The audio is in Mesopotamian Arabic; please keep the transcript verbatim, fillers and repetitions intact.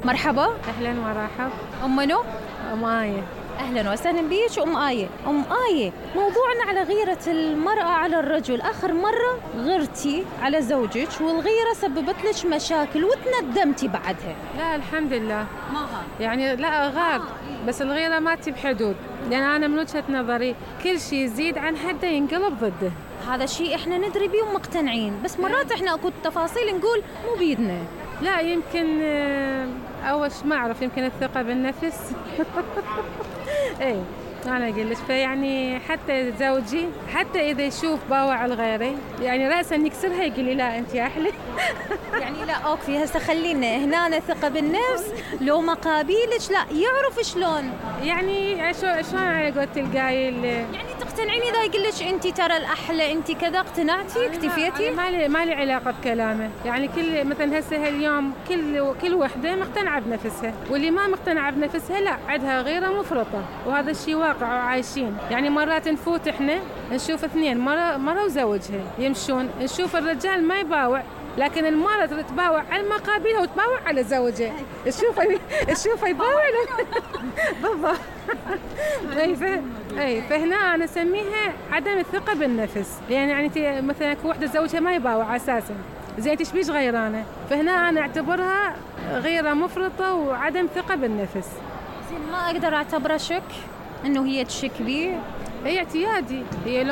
مرحبا. أهلا ومرحب. أم منو؟ أم آية. أهلا وسهلا بيك أم آية. أم آية، موضوعنا على غيرة المرأة على الرجل. آخر مرة غرتي على زوجك والغيرة سببت لك مشاكل وتندمتي بعدها. لا الحمد لله ما غار يعني لا غار آه. بس الغيرة ما تجيب حدود، لأن أنا من وجهة نظري كل شيء يزيد عن حده ينقلب ضده. هذا الشيء إحنا ندري بيه ومقتنعين، بس مرات إحنا أكو تفاصيل نقول مو بيدنا. لا يمكن أول شيء ما أعرف، يمكن الثقة بالنفس. إيه أنا أقول لك، فيعني حتى زوجي حتى إذا يشوف باوع الغيري يعني رأسا يكسرها يقول لي لا أنت يا أحلى. يعني لا أوكي، هسه خلينا هنا ثقة بالنفس لو مقابيلك لا يعرف شلون، يعني شو شلون على قولة القايل، يعني تقتنعين إذا يقول لك أنت ترى الأحلى أنت كذا اقتنعتي اكتفيتي؟ ما لي ما لي علاقة بكلامه، يعني كل مثلا هسه اليوم كل كل وحدة مقتنعة بنفسها، واللي ما مقتنعة بنفسها لا عندها غيرة مفرطة، وهذا الشيء واقع وعايشين. يعني مرات نفوت احنا نشوف اثنين مرة مرة وزوجها يمشون، نشوف الرجال ما يباوع لكن المرأة تباوع على مقابلها وتباوع على زوجها. تشوفه تشوفه يباوع بالضبط. اي اي فهنا انا اسميها عدم الثقة بالنفس، لان يعني مثلا وحدة زوجها ما يباوع اساسا، زين ايش بيش غيرانه؟ فهنا انا اعتبرها غيرة مفرطة وعدم ثقة بالنفس. زين ما اقدر اعتبره شك انه هي تشك بيه؟ هي اعتيادي، هي